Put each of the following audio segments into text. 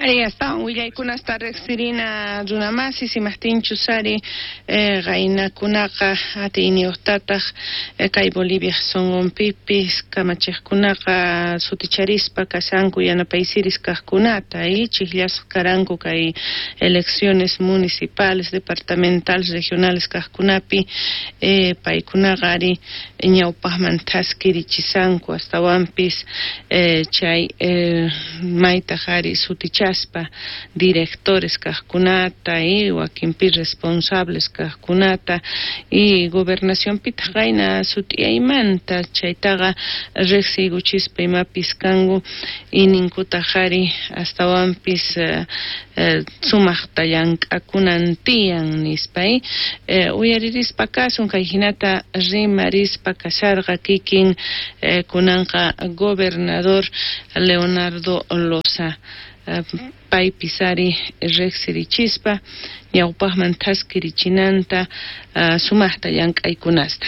Ari, astawan willaykunasta riqsirina runamasis imajtinchus ari qaynakunaqa atiyniyuqtataq kay Bolivia sunqunpipis kamachiqkunaqa suticharispa kashanku yanapaysiris kaqkunata y chijllasqa karanku kay elecciones municipales, departamentales, regionales kaqkunapi paykunaqa ari ñawpaqman thaskirichisanku astawanpis chay maytaq ari sutichaspa directores kaqkunata y wakinpi responsables kaqkunata y gobernacionpitaq qayna sut'iyaymanta chaytaqa riqsiykuchispa imapis kanku y ninkutaq ari astawanpis sumaqta llank'akunan tiyan nispa uyaririspa kasun kay hinata rimarispa kasharqa kikin kunanqa gobernador Leonardo Loza paypis ari riqsirichispa ñawpaqman thaskirichinanta sumaqta llank'aykunasta.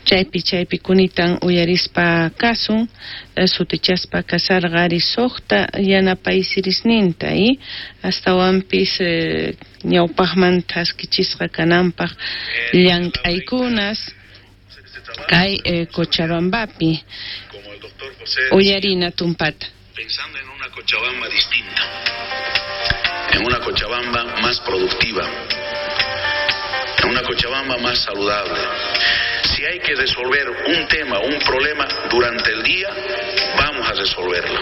Chaypi kunitan uyarispa kasun sutichaspa kasarqa ari suqta yanapaysirisninta y astawanpis ñawpaqman thaskichisqa kananpaq llank'aykunas kay Cochabambapi uyarina tumpata. Pensando en una Cochabamba distinta, en una Cochabamba más productiva, en una Cochabamba más saludable. Si hay que resolver un tema, un problema durante el día, vamos a resolverlo.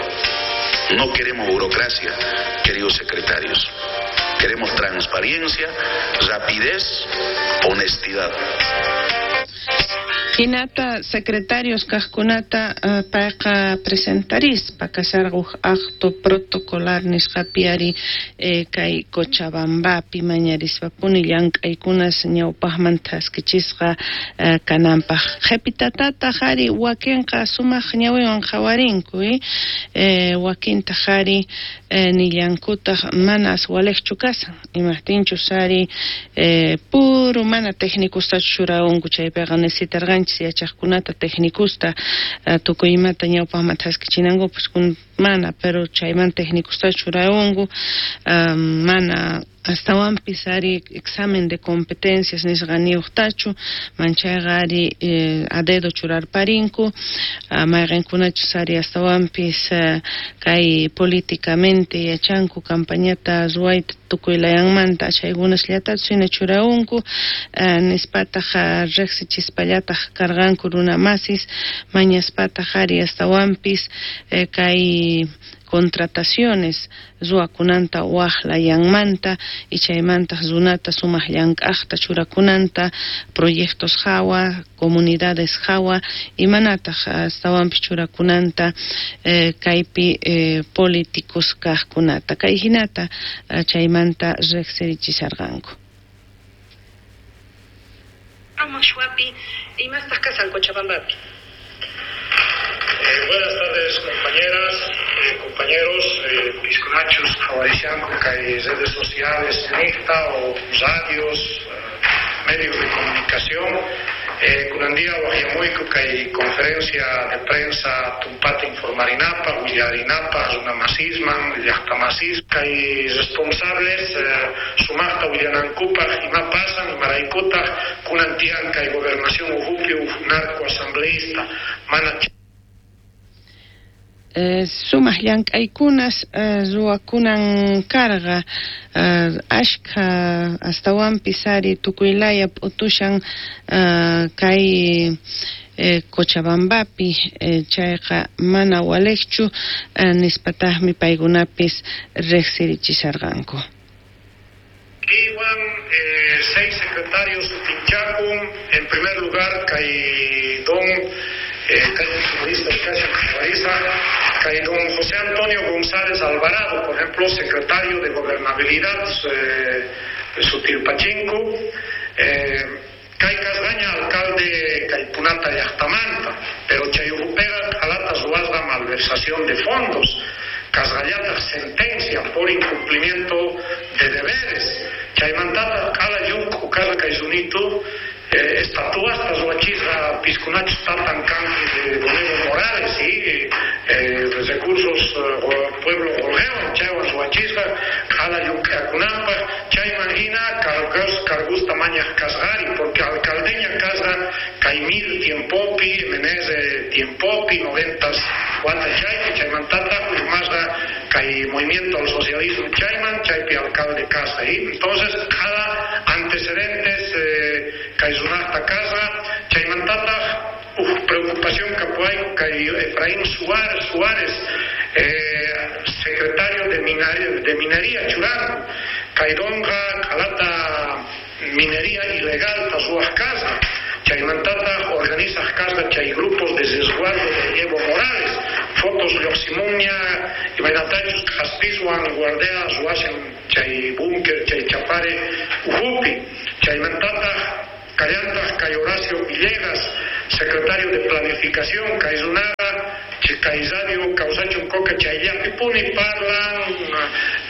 No queremos burocracia, queridos secretarios. Queremos transparencia, rapidez, honestidad. Hinata secretarios kaqkunata payqa presentarispa kasharqa huk acto protocolar nisqapi ari kay Cochabambapi mañarispapuni llank'aykunas ñawpaqman thaskichisqa kananpaq. Qhipitatataq ari wakinqa sumaq ñawiwan qhawarinku wakintaq ari nillankutaq manas waliqchu kasan imaqtinchus ari puro mana técnicostachu churawanku chaypiqa necesitarqanchis yachaqkunata técnicosta tukuy imata ñawpaqman thaskichinankupas mana pero chayman técnicosta churawanku mana astawanpis ari examen de competencias nisqaniyuqtachu manchayqa ari a dedo churarparinku mayqinkunachus ari astawanpis kay políticamente yachanku campañata ruwayta tukuy layanmanta chaykunasllatachu hina churawanku nispataq riqsichispallataq karqanku runamasis mañaspataq ari astawanpis kay contrataciones ruwakunanta waj layanmanta y chaymantaq runata sumaq llank'aqta churakunanta proyectos hawa comunidades hawa imanataq astawanpis churakunanta kaypi políticos kaqkunata kay hinata chaymanta riqsirichisharqanku. Imastaq kasan Cochabambapi. Buenas tardes, compañeras, compañeros, pisconachos, javaricianco, que redes sociales, NICTA o radios, medios de comunicación. Kunandía wajiamuico que hay conferencia de prensa tumpata informarinapa, willarinapa, runamasisman, llaqtamasis, que hay responsables, sumaqta willanankupaq, ima pasan, imaraykutaq, kunantian kay gobernación ujupi, narco asambleísta, mana Sumaq llank'aykunas ruwakunan karqa ashkha astawanpis ari tukuylaya p'utushan kay Cochabambapi chayqa mana waliqchu nispataqmi paykunapis riqsirichisharqanku. Iwan 6 secretarios tinchakun, en primer lugar kay don kay don José Antonio González Alvarado, por ejemplo, secretario de Gobernabilidad Sutilpachinco, kay Casdaña, alcalde Caypunata Llaqtamanta, pero chayujupega alata ruwasqa malversación de fondos, Casgallata sentencia por incumplimiento de deberes, chaymantata q'ala llunku karqa kay sunito estatuastas ruwachisqa piskunachus tatan kanku de don Evo Morales y Recursos pueblo qolqewan chaywan ruwachisqa q'ala llank'akunanpaq, chayman hina cargusta mañaq kasqari, porque alcaldeña kasqa kay MIR tiempopi, MNR tiempopi, 90 wata chaypi, chaymantataq urmasqa kay Movimiento al Socialismo chayman, chaypi alcalde kasqa. Entonces q'ala antecedentes kay runaqta kasqa, chaymantataq preocupación kapuwayku kay Efraín Suárez, secretario de Minería churanku, kay donqa q'alata minería ilegal ruwaq kasqa, chaymantataq organizaq kasqa chay grupos de resguardo de Evo Morales, fotos lluqsimunña imaynatachus k'aspiswan guardia ruwashan chay búnker chay Chapare ukhupi, chaymantataq kallantaq kay Horacio Villegas, secretario de Planificación, kay runaqa kay radio kawsachun coca chayllapipuni parlan,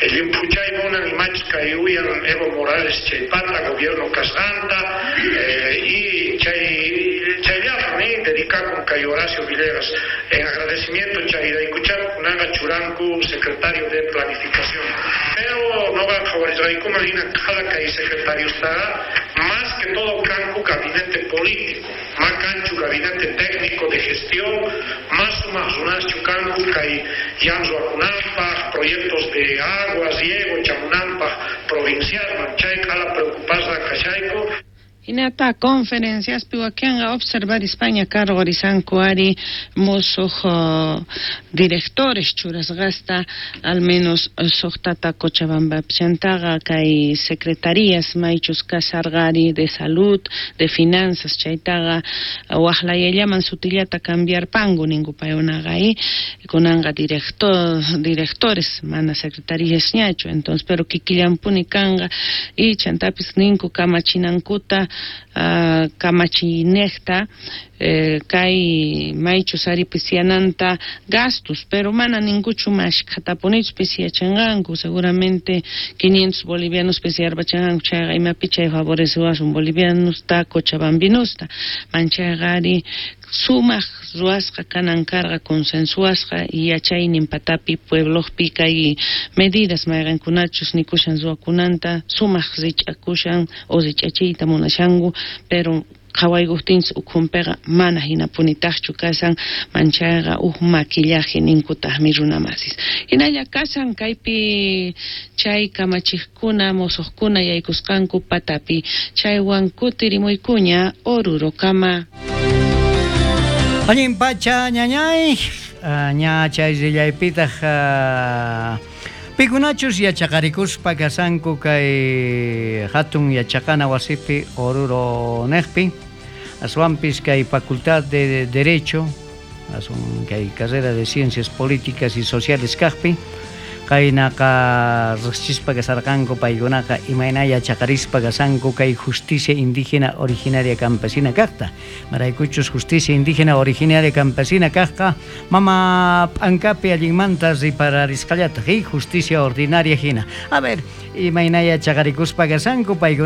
llimphuchay munan imachus kay uyan Evo Morales chaypata gobierno kasqanta, y chayllapuni dedicakun kay Horacio Villegas en agradecimiento chayraykuchá kunaqa churanku secretario de Planificación, pero noqa qhawarisqaykuman hina q'ala kay secretariustaqa más que todo kanku gabinete político, ma kanchu gabinete técnico de gestión, más sumaq runaschu kanku kay ñan ruwakunanpaq, proyectos de agua, riego chamunanpaq provincialman, chay q'ala preocupasqa kashayku. Hinata conferenciaspi wakinqa observarispaña cargorisanku ari musuq directores churasqasta al menos suqtata Cochabambapi, chantaqa kay secretarías maychus kasarqari de salud, de finanzas, chaytaqa waqlayallaman sutillata cambiarpanku ninku paykunaqa, kunanqa directores mana secretaríasñachu, entonces pero kikillanpuni kanqa, y chantapis ninku kamachinankuta kamachinejta kay maychus ari pisiananta gastos, pero mana ninguchu mashkhatapunichu pisiyachanqanku, seguramente 500 bolivianos pisiyarpachanqanku, chayqa imapi chay favorecewasun bolivianusta cochabambinusta, manchayqa ari sumaq ruwasqa kanan karqa consensuasqa yachaynin patapi pueblopi kay medidas mayqankunachus nikushan ruwakunanta sumaq rich'akushan o rich'achiyta munashanku, pero qhawaykuqtinchis ukhunpiqa mana hinapunitaqchu kashan, manchayqa huk maquillaje ninkutaqmi runamasis. Hinalla kashan kaypi chay kamachiqkuna musuqkuna yaykusqanku patapi, chaywan kutirimuykuña Orurokama. Allin pacha ñañay, ña chay rillaypitaq pikunachus yachaqarikuspa kasanku kay hatun yachaqana wasipi Oruro neqpi, aswanpis kay Facultad de Derecho, aswan kay carrera de Ciencias Políticas y Sociales kaqpi, kaynaqa riqsispa kasarqanku paykunaqa imayna yachaqarispa kasanku kay justicia indígena originaria campesina kaqta, maraykuchus justicia indígena originaria campesina kaqqa mama p'ankapi allinmanta ripararisqallataq justicia ordinaria hina. A ver, imayna yachaqarikuspa kasanku paykuna.